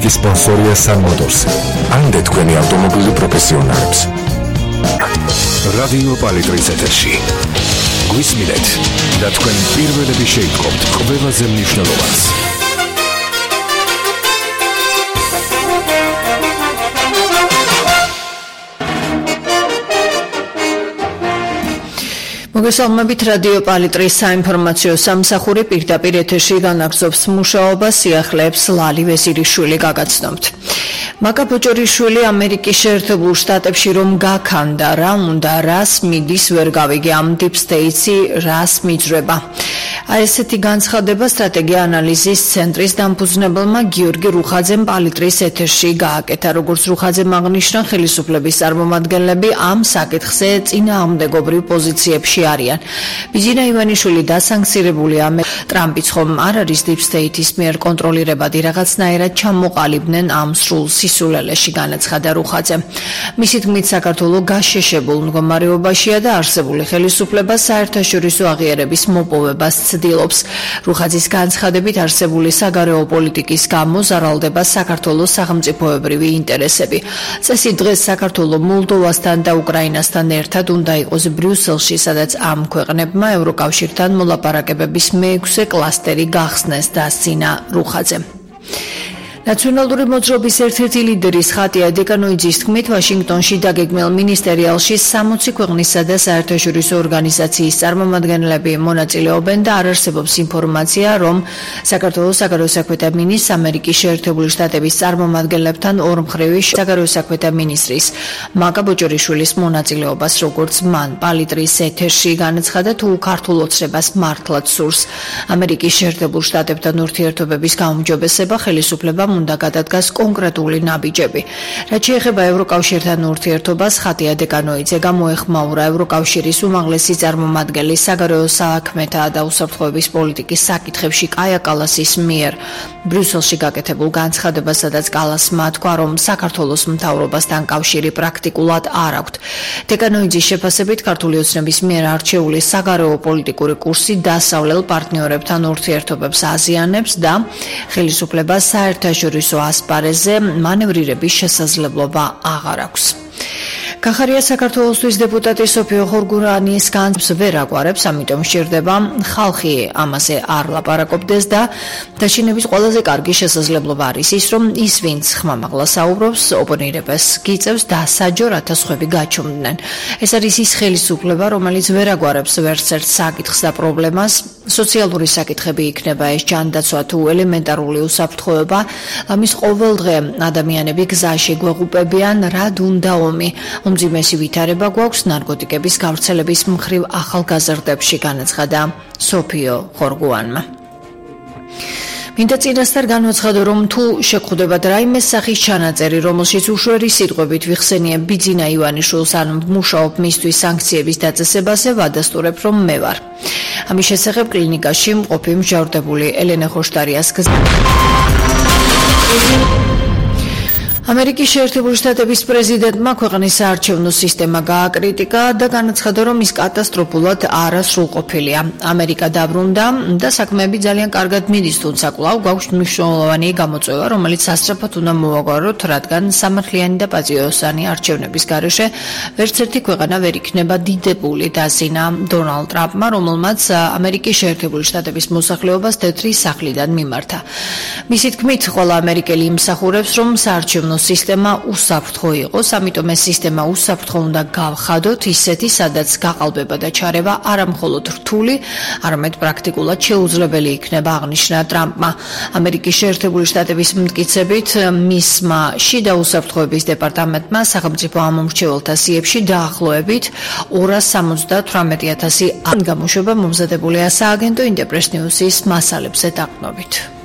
მუსიკის სპონსორია Sun Motors. ამდე თქვენი ავტომობილი პროფესიონალებს. რადიო პალიტრის ეთერში. გვისმინეთ და თქვენ პირველები შეიტყობთ ყველაზე მნიშვნელოვანს. მოგესალმებით რადიო პალიტრის საინფორმაციო სამსახური პირდაპირ ეთერში განაგრძობს მუშაობას სიახლეებს ლალი ვეზირიშვილი გაგაცნობთ. მაკა ბოჭორიშვილი ამერიკის შეერთებულ შტატებში რომ გაქანდა რა უნდა რას მიდის ვერ გავიგე ამ deep state-ი რას მიძრება. ესეთი განცხადება სტრატეგია ანალიზის ცენტრის დამფუძნებელმა გიორგი რუხაძემ პალიტრის ეთერში გააკეთა. როგორც რუხაძემ აღნიშნა, ხელისუფლების წარმომადგენლები ამ საკითხზე წინააღმდეგობრივ პოზიციებში არიან. ბიძინა ივანიშვილი დასანქცირებულია. ტრამპიც ხომ არ არის deep state-ის მიერ კონტროლირებადი რაღაცნაირად ჩამოყალიბდნენ ამ სრულ სისულელეში, განაცხადა რუხაძემ. მისი თქმით, საქართველო გაშეშებულ მდგომარეობაშია და არსებული ხელისუფლება საერთაშორისო აღიარების მოპოვებას ცდილობს. რუხაძის განცხადებით არსებული საგარეო პოლიტიკის გამო ზარალდება საქართველოს სახელმწიფოებრივი ინტერესები. წესით დღეს საქართველო მოლდოვასთან და უკრაინასთან ერთად უნდა იყოს ბრიუსელში, სადაც ამ ქვეყნებმა ევროკავშირთან მოლაპარაკებების მეექვსე კლასტერი გახსნეს, დასცინა რუხაძემ. ნაციონალური მოძრაობის ერთ-ერთი ლიდერის ხატია დეკანოიძის თქმით, ვაშინგტონში დაგეგმილ მინისტერიალში 60 ქვეყნისა და საერთაშორისო ორგანიზაციის წარმომადგენლები მონაწილეობენ და არ არსებობს ინფორმაცია, რომ საქართველოს საგარეო საქმეთა მინისტრს ამერიკის შეერთებული შტატების წარმომადგენლებთან ორმხრივი საგარეო საქმეთა მინისტრის მაკა ბოჭორიშვილის მონაწილეობას, როგორც მან პალიტრის ეთერში განაცხადა, თუ ქართულ ოცნებას მართლაც სურს ამერიკის შეერთებულ შტატებთან ურთიერთობების გაუმჯობესება, ხელისუფლება უნდა გადადგას კონკრეტული ნაბიჯები. რაც შეეხება ევროკავშირთან ურთიერთობას, ხატია დეკანოიძე გამოეხმაურა ევროკავშირის უმაღლესი წარმომადგენლის საგარეო საქმეთა და უსაფრთხოების პოლიტიკის საკითხებში კაია კალასის მიერ ბრიუსელში გაკეთებულ განცხადებას, სადაც კალასმა თქვა, რომ საქართველოს მთავრობასთან კავშირი პრაქტიკულად არ აქვთ. დეკანოიძის შეფასებით, ქართული ოცნების მიერ არჩეული საგარეო პოლიტიკური კურსი დასავლელ პარტნიორებთან ურთიერთობებს აზიანებს და ხელისუფლებას საერთაშორისო ასპარეზზე მანევრირების შესაძლებლობა აღარ აქვს. კახარია საქართველოსთვის დეპუტატი სოფიო ხორგურანის განცდებს ვერ აგვარებს, ამიტომ სჭირდება ხალხი ამაზე არ ლაპარაკობდეს და დაშინების ყველაზე კარგი შესაძლებლობა არის ის, რომ ის, ვინც ხმამაღლა საუბრობს, ოპონირებას გიწევს და საჯო რათა სხვები გაჩუმდნენ. ეს არის ის ხელისუფლება, რომელიც ვერ აგვარებს ვერც ერთ საკითხს და პრობლემას. სოციალური საკითხები იქნება ეს ჯანდაცვა თუ ელემენტარული უსაფრთხოება, ამის ყოველდღე ადამიანები გზაში გვეღუპებიან, რად უნდა ომი. უმძიმესი ვითარება გვაქვს ნარკოტიკების გავრცელების მხრივ ახალგაზრდებში, განაცხადა სოფიო ხორგუანმა. მინდა წინასწარ განვაცხადო, რომ თუ შეგხვდებათ რაიმე სახის ჩანაწერი, რომელშიც უშვერი სიტყვებით ვიხსენიებ ბიძინა ივანიშვილს ან ვმუშაობ მისთვის სანქციების დაწესებაზე, ვადასტურებ, რომ მე ვარ. ამის შესახებ კლინიკაში მყოფი მსჯავრდებული ელენე ხოშტარიას ამერიკის შეერთებული შტატების პრეზიდენტმა ქვეყნის საარჩევნო სისტემა გააკრიტიკა და განაცხადა, რომ ის კატასტროფულად არასრულყოფილია. ამერიკა დაბრუნდა და საქმეები ძალიან კარგად მიდის, თუმცა კვლავ გვაქვს მნიშვნელოვანი გამოწვევა, რომელიც სასწრაფოდ უნდა მოვაგვაროთ, რადგან სამართლიანი და პატიოსანი არჩევნების გარეშე ვერც ერთი ქვეყანა ვერ იქნება დიდებული, დასძინა დონალდ ტრამპმა, რომელმაც ამერიკის შეერთებული შტატების მოსახლეობას თეთრი სახლიდან მიმართა. მისი თქმით, ყველა ამერიკელი იმსახურებს, რომ საარჩევნო სისტემა უსაფრთხო იყოს, ამიტომ ეს სისტემა უსაფრთხო უნდა გავხადოთ, ისეთი, სადაც გაყალბება და ჩარევა არა მხოლოდ რთული, არამედ პრაქტიკულად შეუძლებელი იქნება, აღნიშნა ტრამპმა. ამერიკის შეერთებული შტატების მტკიცებით, მისმა შიდა უსაფრთხოების დეპარტამენტმა სახელმწიფო ამომრჩეველთა სიებში დაახლოებით 278,000 გამოშვება მომზადებულია სააგენტო ინტერპრეს ნიუსის მასალებზე დაყრდნობით.